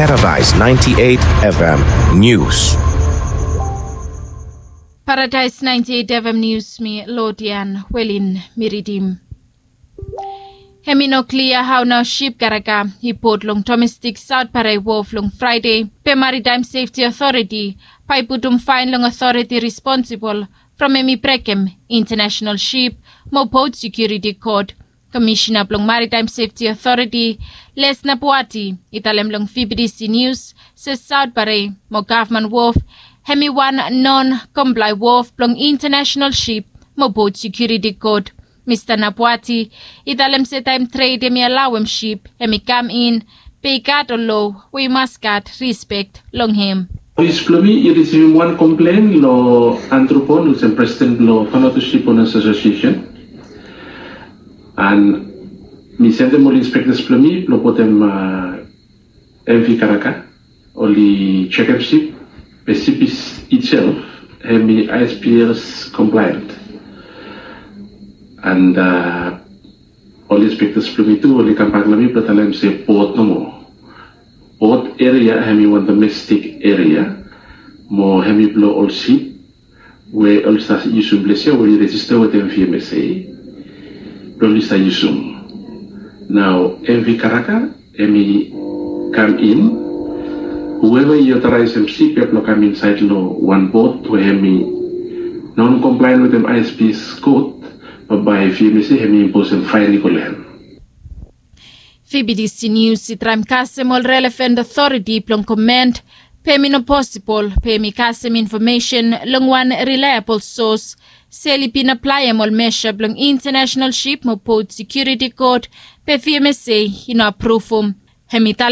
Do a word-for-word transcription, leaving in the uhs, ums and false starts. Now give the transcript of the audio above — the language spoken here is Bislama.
Paradise ninety-eight F M News. Paradise ninety-eight F M News, mi Lodian Welin mi ridim. Hem i no klia hao nao sip karaka i pot long domestik Saut Bare wof long Fraede, be Maritime Sefti Otoriti bae i putum faen long otoriti responsibol from hem i brekem Intenasenal Sip mo Bot Sekiuriti Kod. Komisena blong Maritime Sefti Otoriti, Les Napuati, i talem long V B D C Nius se Saut Bare mo gavman wof hem i wan non komplae wof blong Intenasenal Sip mo Bot Sekiuriti Kod. Mista Napuati i talem se taem tred hem i alaoem sip hem i kam in, be i gat ol loa we i mas gat rispek long hem. Ofis blong mi i risivim wan komplen long Andrew Pon, olsem presiden blong Vanuatu Sip Onas Asosiesen. An mi sendem ol inspektas blong mi blong putum M V karaka, oli jekem sip, be sip itself hem i I S P S komplaen. An ol inspektas blong mi tu oli kambak long mi blong talem se bot nomo. Bot eria hem i wan domestik eria, mo hem i blong ol sip we oli save yusum ples ya we i rejista wetem V M S A blong oli save yusum. Nao M V karaka hem i kam in, hueva i otoraesem sip ya blong kam insaed long wan bot we hem i non komplaen wetem I S P S kod, bambae V M S A hem i imposem faen i go long hem. V B D C Nius i traem kasem ol relevan otoriti blong koment, be hem i no posibol be hem i kasem infomesen long wan rilaebol sos se oli bin aplaem ol mesa blong Intenasenal Sip mo Bot Sekiuriti Kod, be V M S A i no apruvum. Hem i talem